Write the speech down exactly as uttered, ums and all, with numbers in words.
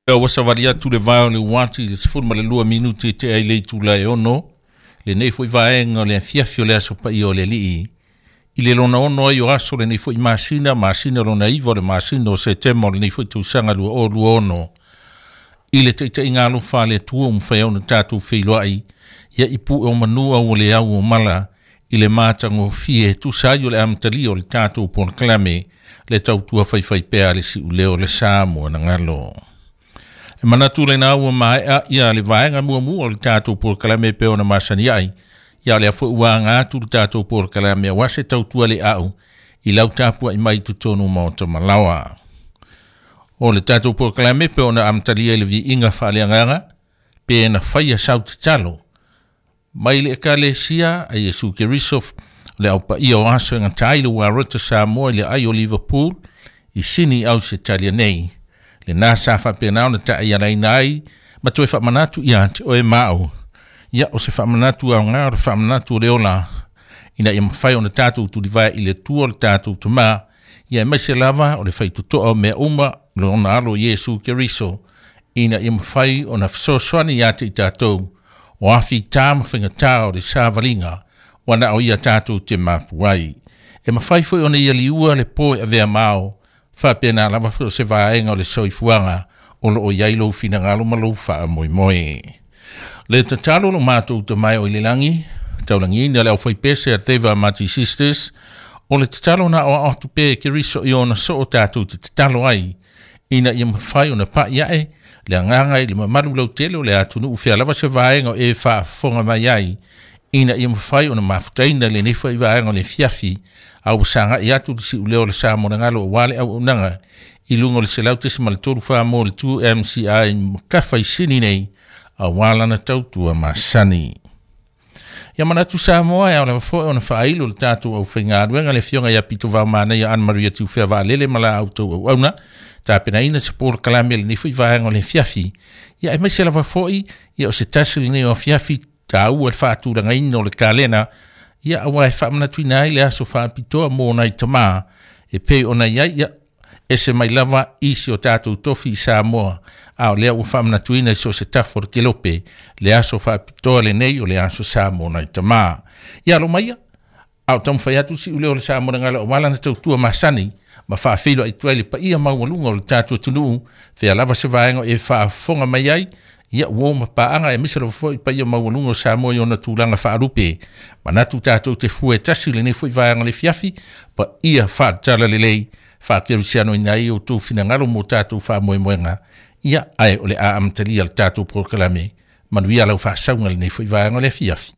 Ua savali atu le vae o le uati i le sefulu ma le lua minuti e tea i le itula e ono, lenei foi vaega o le afiafi o le aso paia o le Alii. I le lona ono ai o aso lenei foi masina, masina lona iva o le masina o Setema o lenei foi tausaga lua o lua ono. I le taitaiga alofa a le Atua ua mafai ai ona tatou feiloai, ia i pue o manu au o le au o mala, i le matagofie e tusa ai o le amatalia o le tatou polokalame, le tautua faifaipea a le siuleo o le Samoa na galo. E manatu lena ua maea ia le vaega muamua o le tatou polokalame pe ona masani ai. Ia o lea foi ua aga atu le tatou polokalame aua se tautua le au i lau tapuai mai totonu maota malaoa. O le tatou polokalame pe ona amatalia i le viiga faaleagaga pe na faia sau tatalo mai le ekalesia a Iesu Keriso le au paia o aso e gata ai le Uarota Samoa i le ai o Liverpool i Sini Ausetalia nei. Lena sa faapena ona taaialaina ai ma toe faamanatu ia te oe ma au. Ia o se faamanatu aoga o le faamanatu o le ola ina ia mafai ona tatou tulivae i le Atua o le tatou Tamā, ia aemaise lava o le faitotoa o mea uma lona alo Iesu Keriso ina ia mafai ona fesoasoani ia te i tatou o afitā ma faigatā o le savaliga ua na o ia tatou te mapu ai. E mafai foi ona ia liua le po e avea mao, faapena lava foi o se vaega o le soifuaga o loo i ai lou finagalo ma lou faamoemoe. Le tatalo lo matou tamae o i le lagi, taulagiina le aufaipese a Teva Mati Sisters, o le tatalo na o atu pe Keriso i ona soo tatou te tatalo ai, ina ia mafai ona pa'i ae le agaga i le mamalu lautele o le atunuu fea lava se vaega o e faafofoga mai ai, ina ia mafai ona mafutaina lenei foi vaega o le fiafi, a ua sagai atu le siuleo o le Samoa na galo aua le auaunaga i luga o le selau tesima le tolu fa mo le two M C I makafa i Sini nei, aua lana tautua masani. Ia manatu Samoa e ao lava foi ona faailo le tatou aufaigaluega le afioga ia Pito Vaomanaia Anne Maria Tiufea Vaalele ma la outou auauna, tapenaina se polokalame lenei foi vaega o le afiafi. Ia aemaise lava foi ia o se tasi lenei o afiafi taua le faatulagaina o le kalena, ia aua e faamanatuina ai le aso faapitoa mo nai tamā e pei ona i ai ia ese mai lava isi o tatou tofi i Samoa, a o lea ua faamanatuina i so o se tafa o le kelope le aso faapitoa lenei o le aso Samoa nai tamā. Ia alo maia, a o taumafai atu siuleo o le Samoa na galo aua lana tautua masani ma faafeiloai atu ai le paia maualuga o le tatou atunuu fea lava se vaega e faafofoga mai ai, ia ua ma paaga aemaise lava foi paia maualuga o Samoa i ona tulaga faalupe. Manatu tatou te fue tasi lenei foi vaega le fiafi, paia faatatala lelei faakerisianoina ai outou finagalo mo tatou faamoemoega. Ia ae o le a amatalia le tatou polokalame. Manuia lau faasauga lenei foi vaega o le afiafi.